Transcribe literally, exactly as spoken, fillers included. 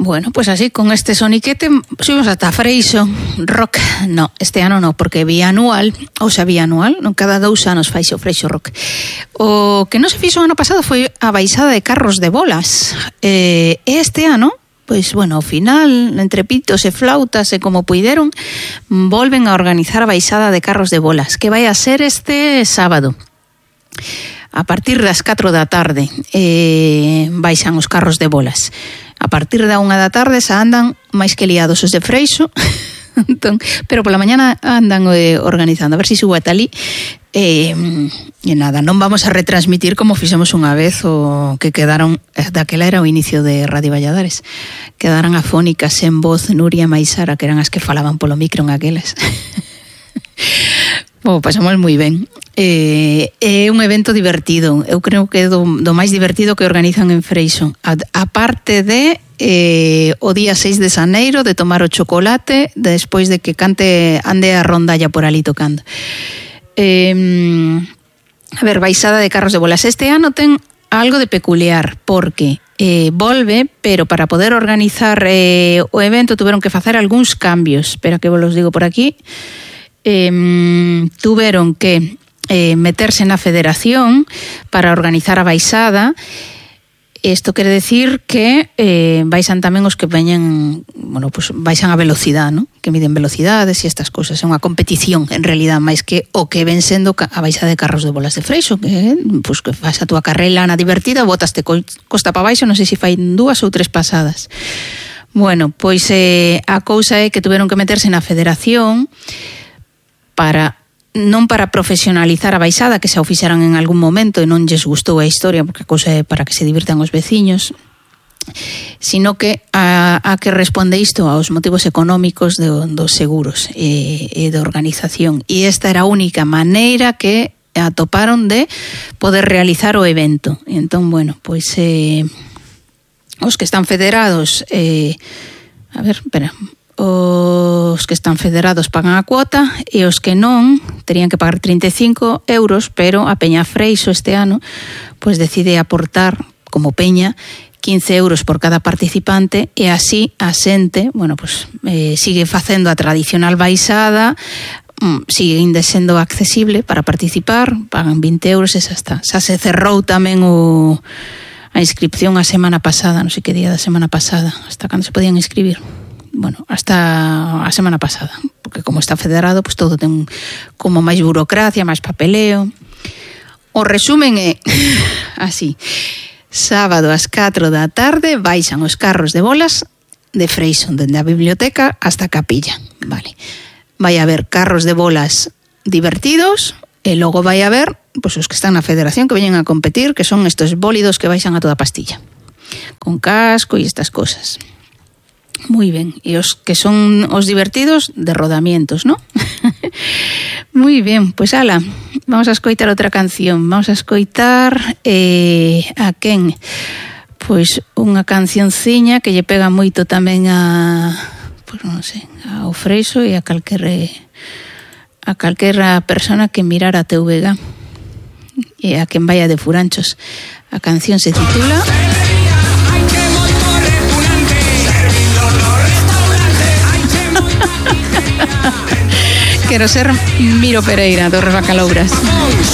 Bueno, pues así, con este soniquete subimos hasta Freixo Rock. No, este ano no, porque bianual, ou sea, bianual, non, cada dous anos faixe o Freixo Rock. O que non se fixo o ano pasado foi a baixada de carros de bolas. E este ano, pois, bueno, ao final, entre pitos e flautas e como puideron, volven a organizar a baixada de carros de bolas, que vai a ser este sábado. A partir das catro da tarde eh, baixan os carros de bolas. A partir da unha da tarde xa andan máis que liados os de Freixo. Entón, pero pola mañana andan eh, organizando, a ver se si subo ata ali. E, e nada, non vamos a retransmitir como fixemos unha vez o que quedaron, daquela era o inicio de Radio Valladares, quedaran afónicas en voz Nuria e Maisara, que eran as que falaban polo micro en aquelas. Bom, pasamos moi ben. Eh, é un evento divertido. Eu creo que é do, do máis divertido que organizan en Freixo. A, a parte de eh, o día seis de xaneiro de tomar o chocolate despois de que cante ande a rondalla por ali tocando. Eh, a ver, baixada de carros de bolas. Este ano ten algo de peculiar porque eh, volve, pero para poder organizar eh, o evento tuveron que facer algúns cambios. Espera que vos los digo por aquí. Eh, tuveron que eh, meterse na federación para organizar a baixada. Isto quere decir que eh, baixan tamén os que veñen, bueno, pues baixan a velocidade, ¿no? Que miden velocidades e estas cousas. É unha competición, en realidad, máis que o que ven sendo a baixada de carros de bolas de Freixo, que, pues, que faz a túa carreira na divertida, botaste costa pa baixo, non sei se fai dúas ou tres pasadas. Bueno, pois eh, a cousa é que tuveron que meterse na federación para non para profesionalizar a baixada, que xa o fixeran en algún momento e non lles gustou a historia, porque a cousa é para que se divirtan os veciños, sino que a, a que responde isto aos motivos económicos de, dos seguros e, e de organización. E esta era a única maneira que atoparon de poder realizar o evento. E entón, bueno, pois eh, os que están federados, eh, a ver, espera, os que están federados pagan a cuota e os que non terían que pagar trinta e cinco euros, pero a Peña Freixo este ano pois decide aportar como peña quince euros por cada participante e así a xente, bueno, pois eh, sigue facendo a tradicional baixada, sigue ainda sendo accesible para participar, pagan vinte euros e xa está. Xa se cerrou tamén o a inscripción a semana pasada, non sei que día da semana pasada, hasta cando se podían inscribir. Bueno, hasta a semana pasada, porque como está federado, pues todo ten como máis burocracia, máis papeleo. O resumen é así: sábado ás catro da tarde baixan os carros de bolas de Freixo, dende a biblioteca hasta a capilla, vale. Vai haber carros de bolas divertidos e logo vai haber, pues, os que están na federación que veñen a competir, que son estos bólidos que baixan a toda pastilla, con casco e estas cosas. Muy ben, e os que son os divertidos de rodamientos, ¿no? Muy bien, pues ala, vamos a escoitar outra canción. Vamos a escoitar eh, a quen? Pois unha cancionciña que lle pega moito tamén a, pois non sei, ao Freixo e a calquera a calquera persona que mirara a T V G e a quen vaya de furanchos. A canción se titula Quero ser Miro Pereira, dos Bacalouras.